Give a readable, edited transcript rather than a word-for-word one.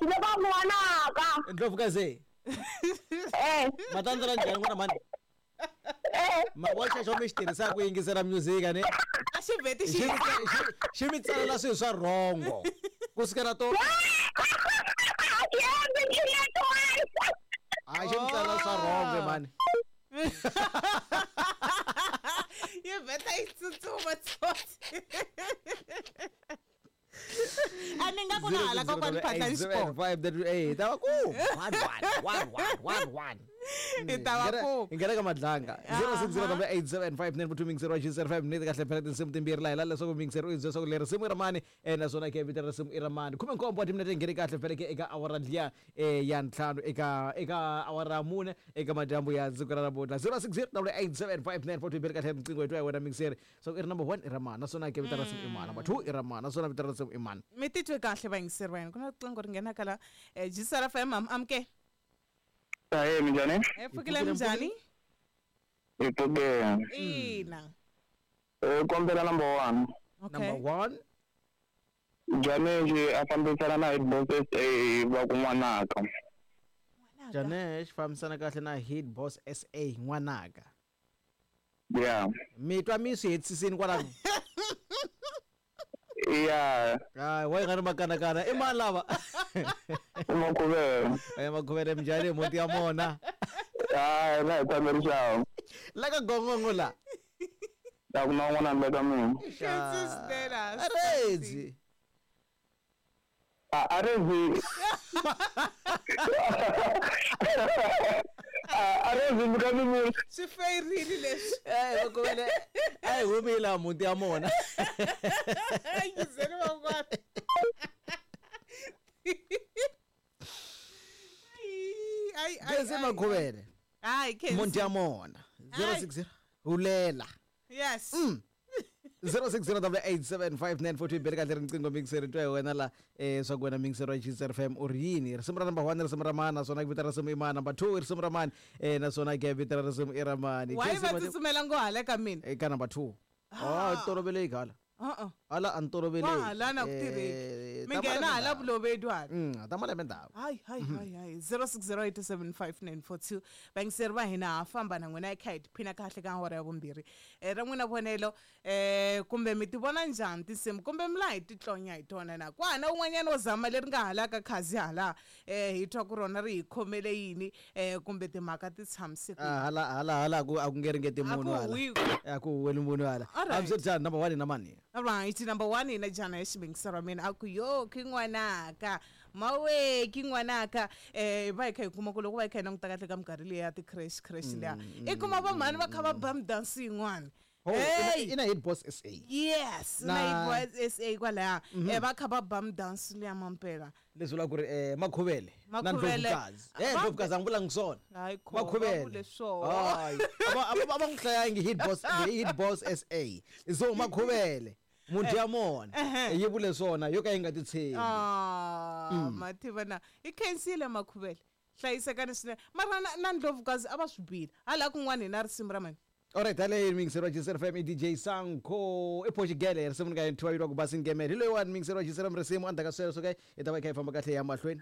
Janesh le ka n'wanaka. Ndlovukazi. Eh. Matandzela njhani n'wana mhani? Eh. Ma wa xexo mi xi tirhisaka ku yingisela music a ni? A xi vheti Xi xi xi mi tsalela swilo swa rhongo. Ku sukela to a xi mi tsalela swa rhongo mhani. Yi vheta yi tsutsuma tsotsi. A ni nga ku na hala kokwani Phatlani xikolo. 5 ta va ku 1 1 1 1 1 1. Hi ta va ku. Hi nghena ka madlanga 060875 2 0 5 ni kahle phela tinsimu timbirhi laha hi lava leswaku mixer u hi byela leswaku leri risimu i ra mani naswona ke vito ra risimu i ra mani 17 wa timinete ngheni kahle phela ke eka awara liya ya ntlhanu eka awara ya mune eka madyambu ya siku ra namuntlha 06087594 bele kahle riqingho hi twa hi wena mixer so i ri number 1 i ra mani naswona ke vito ra risimu i mani number 2 i ra mani naswona vito ra risimu i mani. Mi titwe kahle vayingiseri va hina ku na riqingho ri nghenaka la Jisara FM am amuke. Ahee, minjhani? Hi pfukile minjhani? Hi pfukile. Ina. Kombela number 1. Okay. Number 1. Janesh a fambisana na Hit Boss SA va ku n'wanaka. Janesh fambisana kahle na Hit Boss SA n'wanaka. Yeah. Mi twa mi swi hetisisini kwalano? Yeah. Hayi, wa yi nga ri makanakana i mani lava? I Makhuvele. Ya Makhuvele minjhani mhunti ya mona? Hayi, la hi tshame rixawu. La ka gongongo la. A ku na un'wana handle ka mina. Aredzi. A Aredzi. A Aredzi mi ka mi vula. Swi feyirini leswi. Eh, Makhuvele a hi humi laha mhunti ya mona. Yingiseni van'wana. Ai ai. Khensi Makhuvele. Hayi Khensi. Mhunti ya mona. 060 hulela. Yes. 06087594 bele kahle riqingho mixer twa hi wena la swa ku wena mixer wa Jisr FM u ri yini risimu ra number 1 risimu ra mani naswona vito ra risimu i mani number 2 risimu ra mani naswona ke vito ra risimu i ra mani. Why va tsutsumela ngo hala ka mina? Eka number 2. Oh, toloveleki hala. Uh-uh. Hala a ni toloveleki. Wa hala na ku tirheki. Mi nghena hala vulovedi hala. Ta malembe ndhawu. Hayi hayi hayi hayi 0608759442 vayingiseri va hina ha famba na n'wina hi kha hi tiphina kahle ka awara ya vumbirhi ra n'wina vonelo kumbe mi ti vona njhani tinsimu kumbe mi laha hi titlonya hi tona na ku hana un'wanyana wo zama leri nga halaka khazi hala hi twa ku rona ri hi khomele yini kumbe timhaka ti tshamise ku Hala hala hala ku a ku nge ringeti A ku munhu hala. huwi. A ku huweli munhu hala. Alright. Hambi number 1 na mani. Alright, number 1 ina jana ya xivengisa ra mina a ku yo ki n'wanaka mawe ki n'wanaka va hi kha hi kuma ku loko va hi kha hi languta kahle ka minkarhi liya ya ti-crash crash liya i kuma vamhani va kha va ba midansi yin'wana. Oh, Hey! ina Hit Boss SA. Yes, Na- na Hit Boss SA kwalaya va kha va ba midansi liya mampela. Leswi vulaka ku ri Makhuvele na Makhuvele. Ndlovukazi. Ndlovukazi a n'wi vulangi swona. Hayi kho, va Makhuvele. vule swona. Hayi. A va n'wi hlayangi Hit Boss, Hit Boss SA. So Makhuvele munhu ya mona yi vule swona yo ka yi nga titshembi. Mativa na i khensile Makhuvele hlayisekani swinene mara na Ndlovukazi a va swi bile hala kun'wana hi na risimu ra mani. Alright, hale mixer wa Jisr FM DJ Sanko e Portugal risimu nga yinthiwa yilwa ku basi ngemele hi loyiwani mixer wa Jisr risimu endzhaku ka sweswo ke hi ta va hi kha hi famba kahle ya mahlweni.